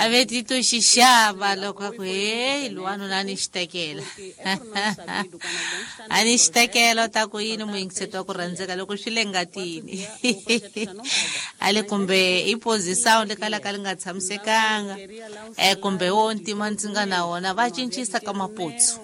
A ve tito xi xava loko a ku heyi lowanuna a ni xi tekela, a ni xi tekela. U ta ku yini muyingiseti wa ku rhandzeka loko swi le ngatini a le kumbe i position le kalaka li nga tshamisekanga, kumbe wo ntima ndzi nga na wona va cincisa ka maputsu.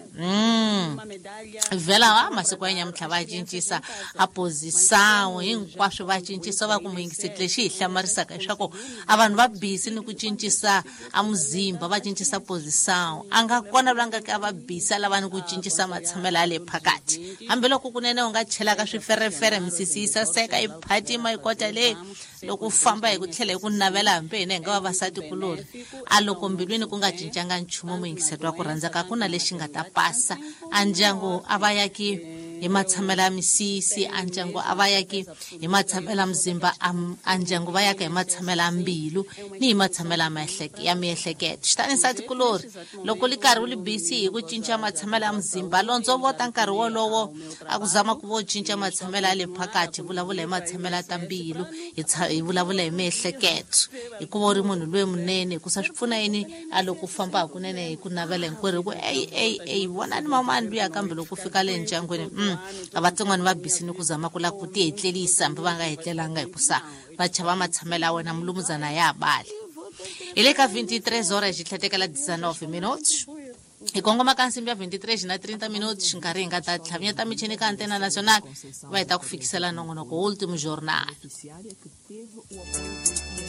Vhela a masiku ya nyamuntlha va cincisa a position hinkwaswo, va cincisa. Va ku muyingiseti, lexi hi hlamarisaka leswaku a vanhu va busy ni ku cincisa a muzimba, va cincisa position. A nga kona loyi a nga ka va busy a lava ni ku cincisa matshamelo ya le phakathi, hambiloko kunene u nga chelaka swiferefere, misisi yi saseka, yi phatima, yi kota leyi loko u famba hi ku tlhela hi ku navela, hambi hina hi nga vavasati kulori. A loko mbilwini ku nga cincanga nchumu, muyingiseti wa ku rhandzaka, ku na lexi nga ta pasa. A ndyangu a va yaki hi matshamelo ya misisi, a ndyangu a va yaki hi matshamelo ya muzimba, a ndyangu va yaka hi matshamelo ya mbilu ni hi matshamelo ya miehleketo. Xitani nsati kulori, loko li karhi u li busy hi ku cinca matshamelo ya muzimba, londzo vota nkarhi wolowo a ku zama ku vo cinca matshamelo ya le phakathi. Vulavula hi matshamelo ya ta mbilu, hi vulavula hi miehleketo, hikuva u ri munhu loyi munene. Hikusa swi pfuna yini a loko u famba hakunene hi ku navela hinkwerhu, hi ku eyi eyi eyi, vonani mamani luya, kambe loko u fika le ndyangwini, a vatsongwana va busy ni ku zama ku lava ku ti hetlelisa, hambi va nga hetlelanga, hikusa va chava matshamelo ya wena mulumuzana ya bali. Hi le ka 23 horas xi tlhatekela 19 minutos, hi kongoma ka nsimbi ya 23 na 30 minutos, nkarhi hi nga ta tlhavinyeta michini ka Antena Nacional, va hi ta ku fikisela nongonoko Último Jornal.